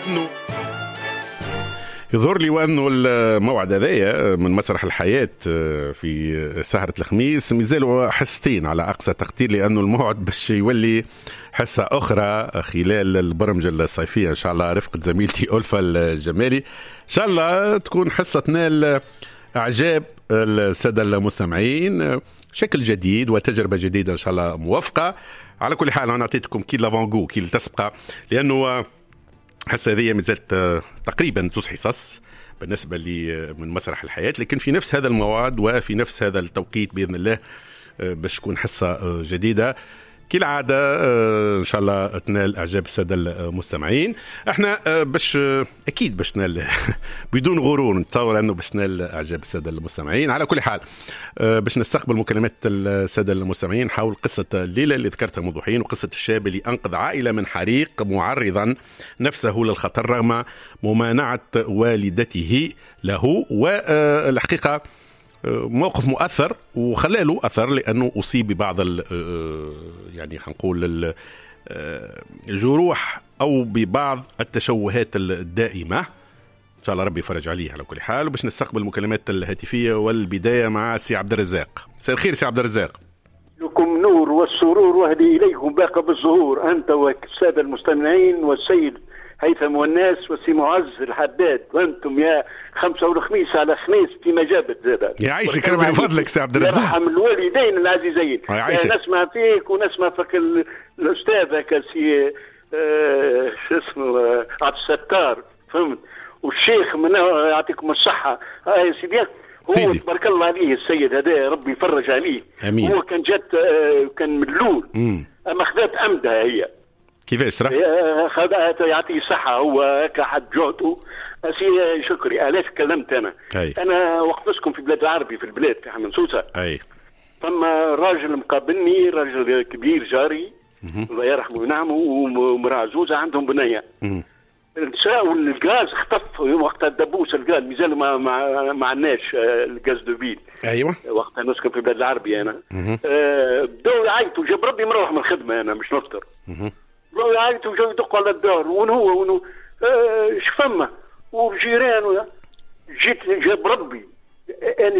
انه يظهر لي وانه الموعد هذايا من مسرح الحياة في سهره الخميس مازالوا حصتين على اقصى تقدير، لانه الموعد باش يولي حصة اخرى خلال البرمجة الصيفية ان شاء الله رفقه زميلتي الفا الجمالي. ان شاء الله تكون حصة تنال اعجاب السادة المستمعين، شكل جديد وتجربه جديدة ان شاء الله موفقة. على كل حال انا اعطيتكم كي l'avant-goût، كي التسبقه، لانه الحصة هذه مازالت تقريبا زوز حصص بالنسبة لي من مسرح الحياه، لكن في نفس هذا الموعد وفي نفس هذا التوقيت باذن الله باش تكون حصة جديدة كالعادة ان شاء الله تنال اعجاب السادة المستمعين. احنا باش اكيد باش تنال، بدون غرور نتصور انه باش تنال اعجاب السادة المستمعين. على كل حال باش نستقبل مكالمات السادة المستمعين حول قصة الليلة اللي ذكرتها منذ حين، وقصة الشاب اللي انقذ عائلة من حريق معرضا نفسه للخطر رغم ممانعه والدته له. والحقيقة موقف مؤثر وخلى له اثر، لانه اصيب ببعض يعني خلينا نقول الجروح او ببعض التشوهات الدائمه. ان شاء الله ربي يفرج عليه. على كل حال وباش نستقبل المكالمات الهاتفية، والبداية مع سي عبد الرزاق. مساء الخير سي عبد الرزاق. لكم نور والسرور وهدي اليكم باقه بالزهور، انت والسادة المستمعين والسيد هيثم والناس والسي معز الحداد، وانتم يا خمسة والخميس على خميس في مجابة زاد. يعيشك ربي يفضلك سي عبد الرزاق. يرحم الوالدين العزيزين. يعيشك. نسمع فيك ونسمع فيك الاستاذ سي شو اسمه عبد الستار، فهمت، والشيخ من يعطيكم الصحة. يا سيدي هو تبارك الله عليه السيد هذا، ربي يفرج عليه. امين. هو كان جات كان من الاول، اما خذات امدها هي. كيفاش راه؟ خذها، يعطيه الصحة، هو هكا حد جهده. سي شكري، علاش كلمت أنا؟ أي. أنا وقت نسكن في بلاد العربي، في البلاد في حمام سوسة. فما راجل مقابلني، راجل كبير جاري الله يرحمه وينعمه، ومرأة عزوزة عندهم بنية. النساء والغاز خطف وقتها الدبوس الغاز، مازال ما عندناش ال gaz de ville. وقتها نسكن في بلاد العربي انا. بداو يعيطوا، جاب ربي مروح من الخدمة انا مش نفطر. بداو يعيطوا، جاو يدقوا على الدار، وين هو وين اش فما وجيران. جيت جاب ربي انا.